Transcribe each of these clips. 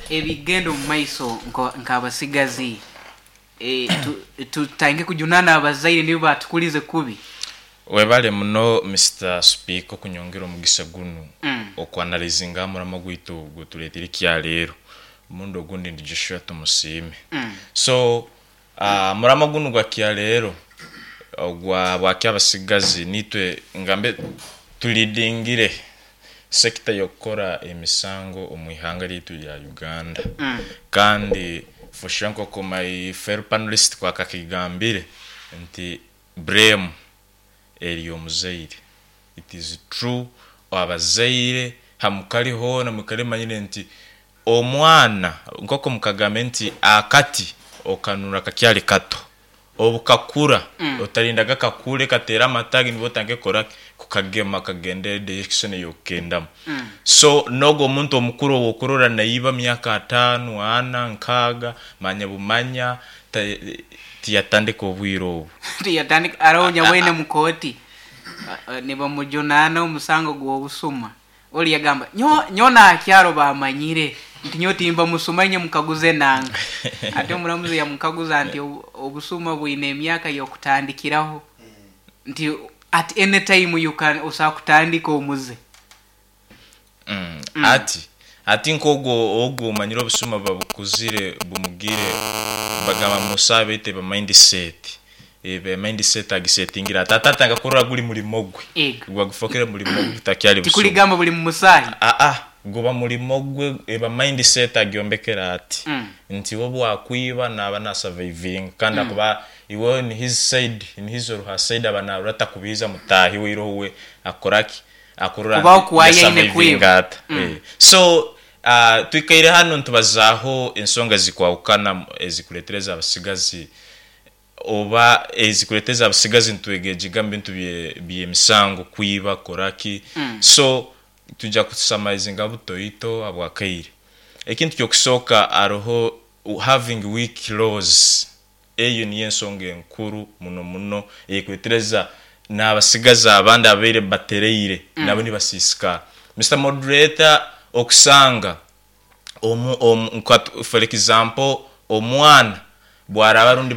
Ebigenda omu maiso nk'abasigazi tutandike kujunaana abazaire nibo batukulize kubi. Webale muno Mister Speaker okunyongera omugisa gunu oku analyzinga aha muramwa gwaitu oguturetire ekyaleero. Omurundi ogundi ndi Joshua Tumusiime. So omuramwa gunu gwa kyaleero ogwa bwaki abasigazi nitwe ngambe tulidingire sector y'okukora emisango omu ihanga ryaitu rya Uganda. Kandi for sure nk'oku my fellow panelist kwakakigambire nti blame eri omuzaire. It is true abazaire hamukari hoona mwikare mumanyire nti omwana nk'oku mukagambire nti akati okanura kakyari kato, obu kakura otarindaga kakure kateere amatagi nibwo otandike kukora ki? Kukagema kagende direction ei orikukendamu. So n'ogwo omuntu omukuru ou okurora naiba myaka ataano, ana, nkaaga, manya bumanya tiyatandika obwire obu. Tiyatandika, aroho nyabwine omu kooti nibamujunaana omusango gw'obusuma, ori yagamba, Nyowe n'aha kyaro baamanyire nti nyowe timba musuma inye mukaguze nanka. Ati omuramuzi yamukaguza nti obusuma bwine emyaka y'okutandikiraho? Nti at any time you can osobola kutandika omuze. Ati, hati nk'ogwo ogwo omanyire obusuma buba bukuzire bumugire, bagamba musa beitu eba mind set, eba mind set agisetingire ati ati atandika kurora guri murimo gwe, Ego. guba gufokere murimo gwe gutakyari busuma. Tikurigamba buri mumusaahi. Aa, guba murimo gwe eba mind set agyombekere ati, nti iwe obu wakwiba naba na survivinga kandi akuba iwe in his side, in his or her side aba narora takubiiza mutaahi we iroho we akoraki? Akurora Kubaho nti ku aine yasurvivinga kwiba. ata. So twikaire hanu nitubazaaho ensonga ezikwahukana ezikureetereza abasigazi oba ezikureetereza abasigazi nitwegegiga omu bintu by'emisango, kwiba, kukora ki. So twija kusamarizinga butoito habw'akaire. Ekintu ky'okusooka hariho having weak laws. Eyo niyo ensonga enkuru muno muno eyekuretereza n'abasigazi abandi ababaire batereire nabo nibasiisikara. Mister Moderator, okusanga omu omu nka for example omwana bwaraba rundi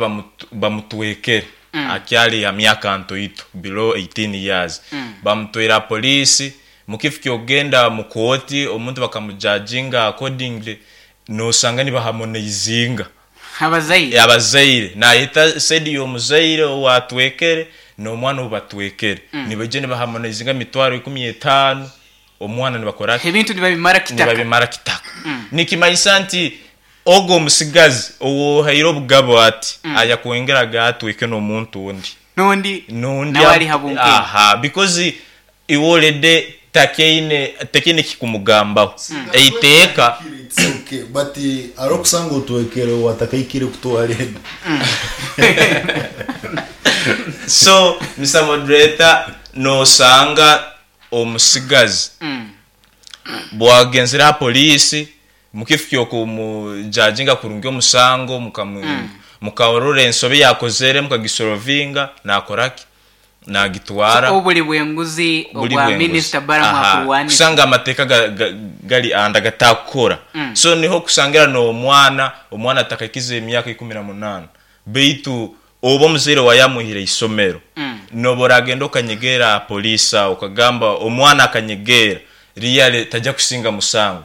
bamutwekere akyari ha myaka ntoito below 18 years, bamutwaire aha police, mukifo ky'okugenda mu kooti omuntu bakamujajinga accordingly, nosanga nibahamonaizinga. Abazaire. Abazaire. Naayeta side y'omuzaire owaatwekere n'omwana ou batwekere. Nibaija nibahamonaizinga emitwaro ikumi etaano, omwana nibakora ki? Ebintu nibabimara kitaka. Nibabimara kitaka. Nikimanyisa nti ogwo omutsigazi ou ohaire obugabe ati, ayakwongeraga atweke n'omuntu ondi. N'ondi N'ondi nawe ari ha bunkenke. Aha, because Iwe already takyaine takyaine kikumugambaho. Eiteeka. It's okay but hariho okusanga otwekere owatakahikire kutwara enda. So Mister Moderator nosanga omusigazi bwagenzire aha police mukifo kyokumujajinga kurungi omusango mukarora ensobi yakozere mukagisorovinga nakoraki? Naagitwara. So obuli bw'enguzi Buli obwa bw'enguzi. Minisita Balaam Aha, akurwanisa. kusanga amateeka gari anda gatakukora. So niho okusangira n'omwana, omwana atakahikize emyaka 18, beitu oba omuzaire waawe yamwihire eisomero, nooba oragenda okanyegeera aha poliisi aho okagamba omwana akanyegeera, really taija kusinga musango.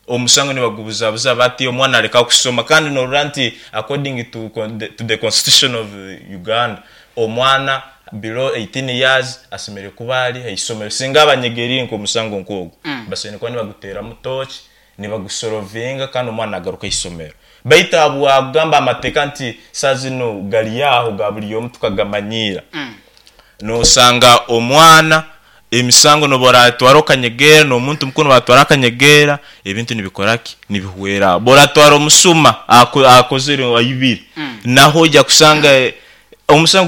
Omusango nibagubuzabuza bati omwana areka kusoma kandi norora nti according to to the constitution of Uganda omwana below 18 years asemereire kuba ari ahaisomero singa aba anyegeriire nkomusango nkogwo basemereire kuba nibaguteramu torch nibagusorovinga kandi omwana nagaruka ahaisomero baitu ahabwakugamba amateeka nti saaha zinu gari aho ga buri omu tukagamanyiira nosanga omwana Emisango n'obu oraatwara okanyegeera, n'omuntu mukuru n'obu atwara akanyegeera, ebintu nibikora ki? Nibihwera aho. Obu oraatwara omusuma akozire aibire, naho oija kushanga omusango.